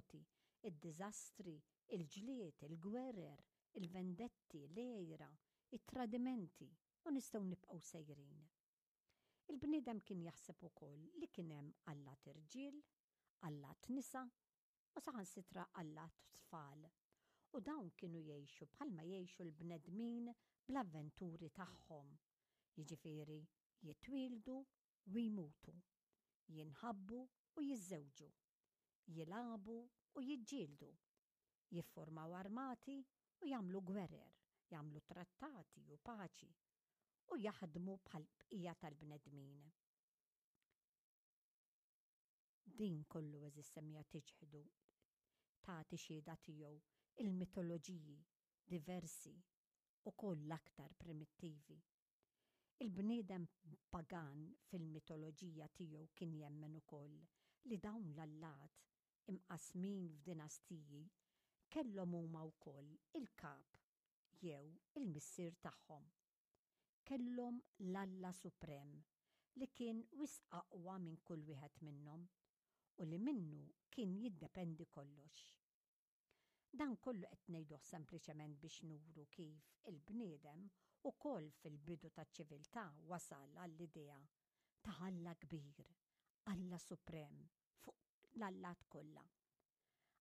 it-terremoti, id-diżastri, il-ġlied, il-gwerer, il-vendetti, l-għira, it-tradimenti, u nistgħu nibqgħu sejrin. Il-bniedem kien jaħseb ukoll li kien hemm allat irġiel, allat nisa u saħansitra allat tfal, u dawn kienu jgħixu bħalma jgħixu l-bnedmin bl-avventuri tagħhom, jiġifieri jitwieldu u jmutu, jinħabbu u jiżżewġu, jilagħbu u jiġġieldu, jiffurmaw armati u jagħmlu gwerer, jagħmlu trattati u paċi, u jaħdmu bħall-bqija tal-bnedmin. Din kollu għeżież semmiegħa tiċħdu, tagħti xhieda tiegħu il-mitoloġiji diversi, ukoll l-aktar primittivi. Il-bniedem pagan fil-mitoloġija tiegħu kien jemmen ukoll li dawn l-allat, imqassmin f'dinastiji, kellhom huma wkoll il-kap jew il-missier tagħhom. Kellhom l-Alla Suprem li kien wisq aqwa minn kull wieħed minnhom u li minnu kien jiddependi kollox. Dan kollu qed ngħiduh sempliċement biex nuru kif il-bniedem ukoll fil-bidu taċ-ċiviltà wasal għall-idea ta' Alla kbir, Alla Suprem fuq l-allat kollha.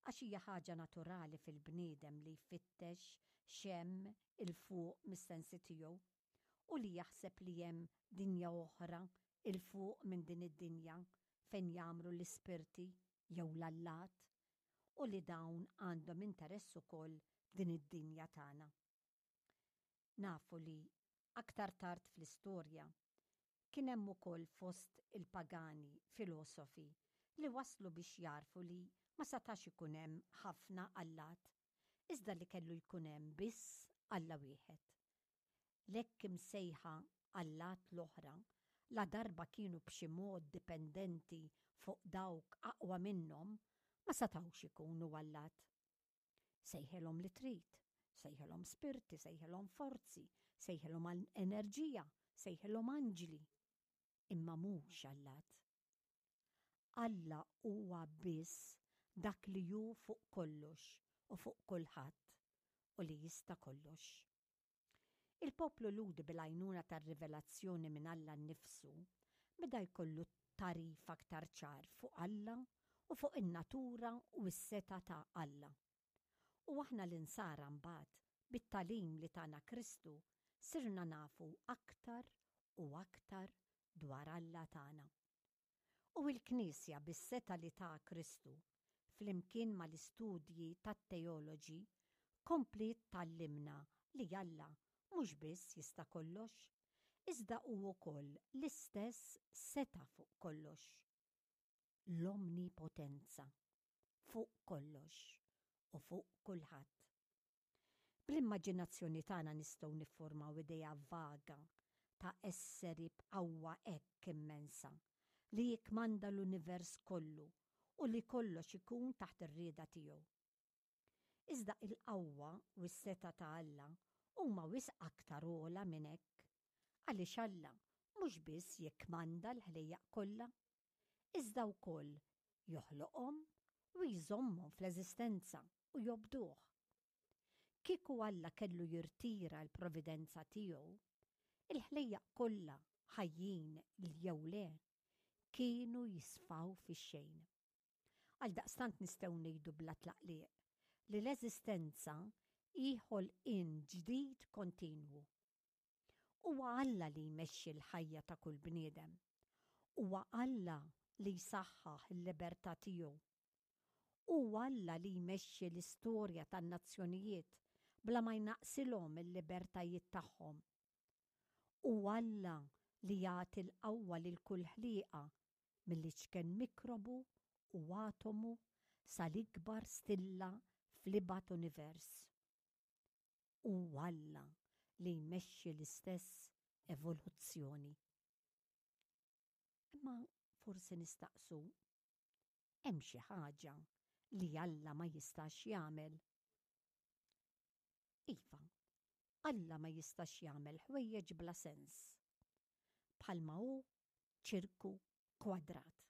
Għax hija ħaġa naturali fil-bniedem li jfittex x'hemm 'il fuq mis-sensi tiegħu u li jaħseb li hemm dinja oħra 'il fuq minn din id-dinja fejn jgħammru l-ispirti jew l-allat u li dawn għandhom interess ukoll f'din id-dinja tagħna. Nafu li, aktar tard fl-istorja, kien hemm ukoll fost il-pagani filosofi li waslu biex jagħrfu li ma satax ikun hemm ħafna allat, iżda li kellu jkun hemm biss Alla wieħed. L-hekk imsejħa allat l-oħra, ladarba kienu b'xi mod dipendenti fuq dawk aqwa minnhom, ma setgħux ikunu allat. Sejħilhom li trid, sejħilhom spirti, sejħilhom forzi, sejħilhom enerġija, sejħilhom anġli, imma mhux allat. Alla huwa biss dak li hu fuq kollox u fuq kulħadd u li jista' kollox. Il-poplu Lhudi bil-għajnuna tar-rivelazzjoni minn Alla nnifsu beda jkollu tagħrif aktar ċar fuq Alla u fuq in-natura u s-setgħa ta' Alla. U aħna l-Insara mbagħad, bit-tagħlim li tana Kristu, sirna nafu aktar u aktar dwar Alla tagħna. U l-Knisja bis-setgħa li ta Kristu, flimkien mal-istudji tat-teoloġi, kompliet tgħallimna li Alla mhux biss jista' kollox, iżda hu wkoll l-istess setgħa fuq kollox, l-omnipotenza fuq kollox u fuq kulħadd. Bl-immaġinazzjoni tagħna nistgħu niffurmaw idea vaga ta' esseri b'qawwa hekk immensa li jikkmanda l-univers kollu u li kollox ikun taħt ir-rieda tiegħu. Iżda il-qawwa u s-setgħa ta' Alla huma wisq aktar ogħla minn hekk, għaliex Alla mhux biss jikkmanda l-ħlejjaq kollha, iżda wkoll joħloqhom u jżommhom fl-eżistenza u jobduh. Kieku Alla kellu jirtira l-providenza tiegħu, il-ħlejjaq kollha, ħajjin jew le, kienu jisfaw fix-xejn. Għaldaqstant nistgħu ngħidu bla tlaqliq li l-eżistenza hi ħolqien ġdid kontinwu. Huwa Alla li jmexxi l-ħajja ta' kull bniedem. Huwa Alla li jsaħħaħ il-libertà tiegħu. Hu Alla li jmexxi l-istorja tan-nazzjonijiet bla ma jnaqqsilhom il-libertajiet tagħhom. Hu Alla li jagħti l-qawwa lil kull ħliqa, mill-iċken mikrobu u atomu sal-ikbar stilla fl-ibgħad univers. Hu Alla li jmexxi l-istess evoluzzjoni. Imma forsi nistaqsu, hemm xi ħaġa li Alla ma jistax jagħmel? Iva, Alla ma jistax jagħmel ħwejjeġ bla sens, bħalma hu ċirku kwadrat.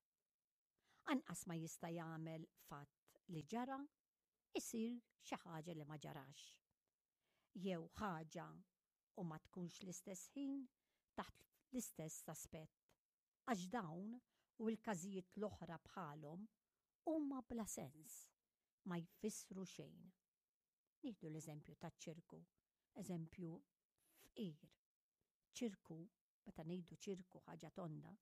Anqas ma jista' jagħmel fatt. li ġara isir xi ħaġa li ma ġarax. Jew ħaġa u ma tkunx l-istess ħin taħt l-istess aspett. Għax dawn u l-każijiet l-oħra bħalhom huma bla sens, ma jfissru xejn. Nieħdu l-eżempju taċ-ċirku, eżempju fqir. Ċirku, meta ngħidu ċirku ħaġa tonda,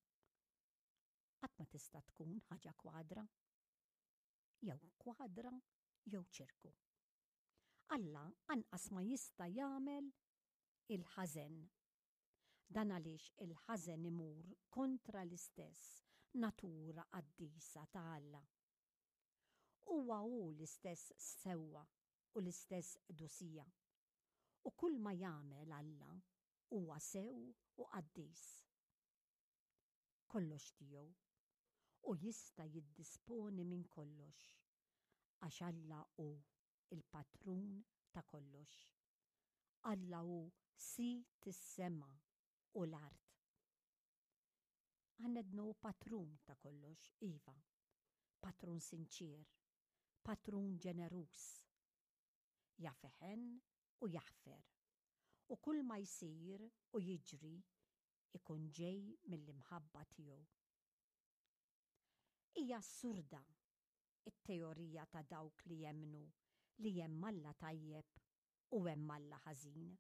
qatt ma tista' tkun ħaġa kwadra. Jew kwadra jew ċirku. Alla anqas ma jista' jagħmel il-ħażen. Dan għaliex il-ħażen imur kontra l-istess natura qaddisa ta' Alla. Huwa hu l-istess sewwa u l-istess qdusija. U kulma jagħmel Alla huwa sew u qaddis. Kollox tiegħu, u jista' jiddisponi minn kollox, għax Alla hu l-patrun ta' kollox. Alla hu Sid is-sema u l-art. Għandna hu patrun ta' kollox, iva, patrun sinċier, patrun ġeneruż. Jaf iħenn u jaħfer, u kull ma jsir u jiġri ikun ġej mill-imħabba tiegħu. Hija assurda t-teorija ta' dawk li jemmnu li hemm Alla tajjeb u hemm Alla ħażin,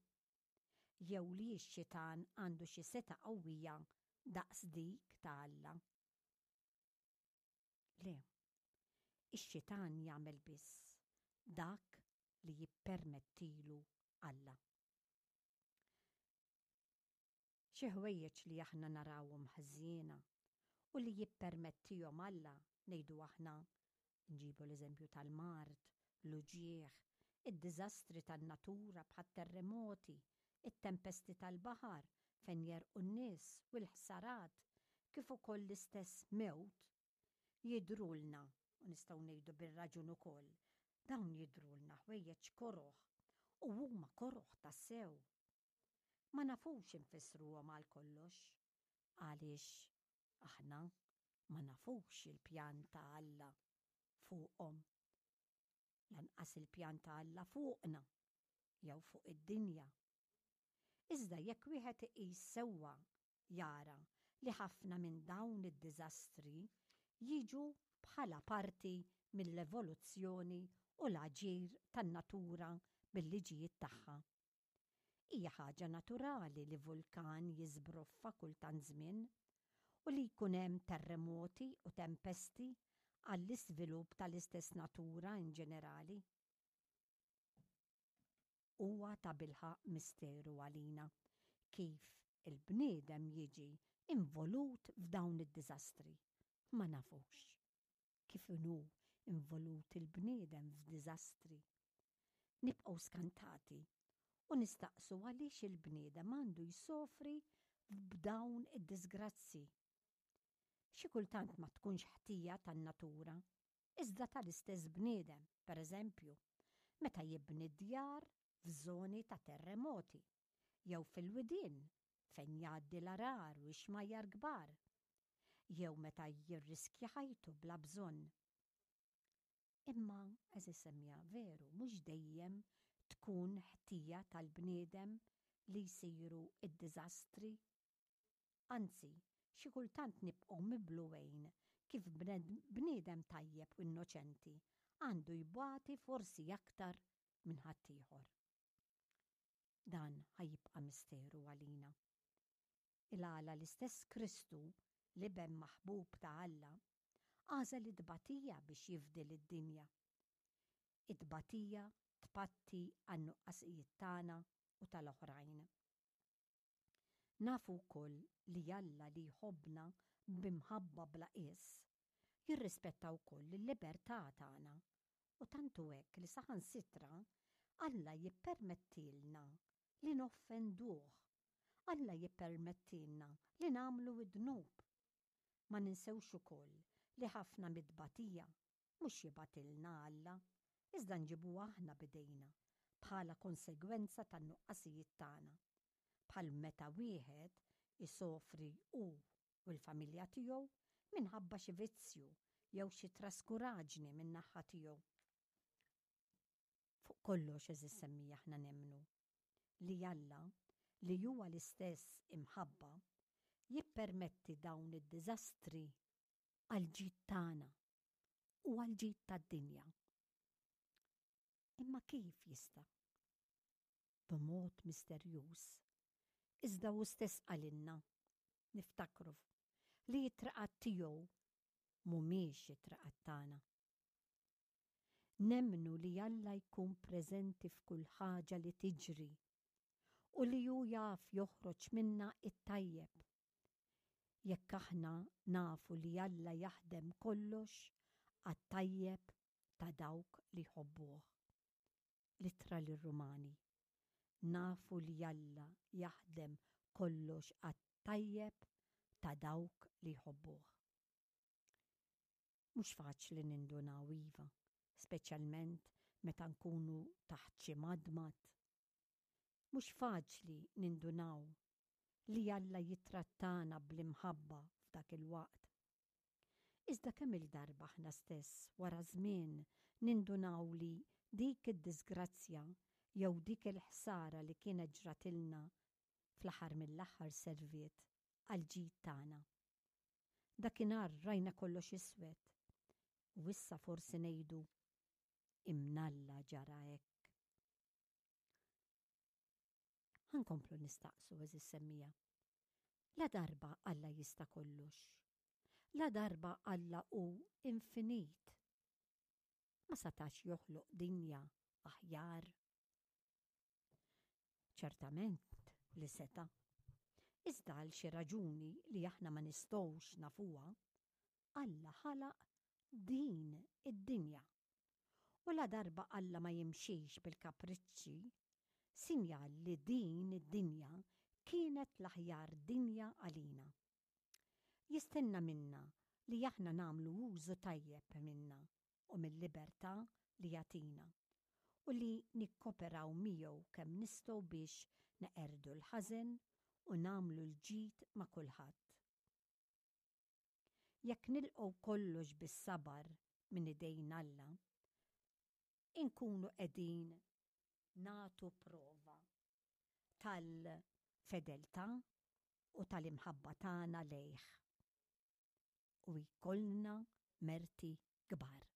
jew li x-xitan għandu xi setgħa qawwija daqs dik ta' Alla. Le, ix-xitan jagħmel biss dak li jippermettilu Alla. Xi ħwejjeġ li aħna narawhom ħżiena u li jippermettihom Alla, ngħidu aħna, nġibu l-eżempju tal-mard, l-uġigħ, id-diżastri tan-natura bħat-terremoti, it-tempesti tal-baħar fejn jegħrqu n-nies u l-ħsarat, kif ukoll l-istess mewt, jidhrulna, u nistgħu ngħidu bir-raġun ukoll, dawn jidhrulna ħwejjeġ koroh, u huma koroh tassew. Ma nafux infissruhom għal kollox, għaliex aħna ma nafux il-pjan ta' Alla fuqhom, lanqas il-pjan ta' Alla fuqna jew fuq id-dinja. Iżda jekk wieħed iqis sewwa jara li ħafna minn dawn id-diżastri jiġu bħala parti mill-evoluzzjoni u l-aġir tan-natura bil-liġijiet tagħha. Hija ħaġa naturali li vulkan jiżbroffa kull tant żmien u li jkun hemm terremoti u tempesti għall-iżvilupp tal-istess natura in ġenerali. Huwa tabilħaqq misteru għalina kif il-bniedem jiġi involut f'dawn id-diżastri. Ma nafux. Kif inhu involut il-bniedem f'diżastri. Nibqgħu skantati u nistaqsu għaliex il-bniedem għandu jsofri b'dawn id-diżgrazzji. Xi kultant ma tkunx ħtija tan-natura, iżda tal-istess bniedem, pereżempju, meta jibni d-djar f'żoni ta' terremoti jew fil-widien fejn jgħaddi l-għarar u x-xmajjar kbar, jew meta jirriskja ħajtu bla bżonn. Imma, għeżież semmiegħa, veru, mhux dejjem tkun ħtija tal-bniedem li jsiru d-diżastri. Anzi, xi kultant nibqgħu miblugħin kif bniedem tajjeb u innoċenti għandu jbati forsi aktar minn ħaddieħor. Dan ħa jibqa' misteru għalina. Il-għala l-istess Kristu, l-Iben maħbub ta' Alla, għażel it-tbatija biex jifdi lid-dinja. It-tbatija tpatti għan-nuqqasijiet tagħna u tal-oħrajn. Nafu wkoll li Alla li jħobbna b'imħabba bla qies, jirrispetta wkoll il-libertà tagħna u tant hu hekk li saħansitra Alla jippermettilna li noffenduh. Alla jippermettilna li nagħmlu d-dnub. Ma ninsewx ukoll li ħafna mit-tbatija mhux jibgħatilna Alla, iżda nġibuha aħna b'idejna bħala konsegwenza tan-nuqqasijiet tagħna, bħal meta wieħed isofri hu u l-familja tiegħu minħabba xi vizzju. jew xi traskuraġni min-naħa tiegħu. Fuq kollox għeżież semmiegħa aħna nemmnu li Alla, li huwa l-istess imħabba, jippermetti dawn id-diżastri għall-ġid tagħna u għall-ġid tad-dinja. Imma kif jista'? B'mod misterjuż. Iżda hu stess qalilna, niftakru, li t-triqat tiegħu mhumiex it-triqat tagħna. Nemmnu li Alla jkun preżenti f'kull ħaġa li tiġri u li hu jaf joħroġ minnha t-tajjeb. Jekk aħna nafu li Alla jaħdem kollox għat-tajjeb ta' dawk li jħobbuh. L-Ittra lir-Rumani. Nafu li Alla jaħdem kollox għat-tajjeb ta' dawk li jħobbuh. Mhux faċli nindunaw, iva, speċjalment meta nkunu taħt xi madmad. Mhux faċli nindunaw li Alla jittrattana bl-imħabba f'dak il-waqt. Iżda kemm-il darba aħna stess wara żmien nindunaw li dik id-diżgrazzja jew dik il-ħsara li kienet ġratilna fl-aħħar mill-aħħar serviet għall-ġid tagħna. Dakinhar rajna kollox iswed u issa forsi ngħidu, Imnalla ġara hekk. Ħa nkomplu nistaqsu, għeżież semmiegħa. Ladarba Alla jista' kollox, ladarba Alla hu infinit, ma satax joħloq dinja aħjar? Ċertament li seta'. Iżda għal xi raġuni li aħna ma nistgħux nafuha, Alla ħalaq din id-dinja. U ladarba Alla ma jimxix bil-kapriċċi, sinjal li din id-dinja kienet l-aħjar dinja għalina. Jistenna minna li aħna nagħmlu użu tajjeb minnha u mil-libertà li jagħtina, u li nikkoperaw miegħu kemm nistgħu biex neqerdu l-ħażen u nagħmlu l-ġid ma' kulħadd. Jekk nilqgħu kollox bis-sabar minn idejn Alla, inkunu qegħdin nagħtu prova tal-fedeltà u tal-imħabba tagħna lejh u jkollna merti kbar.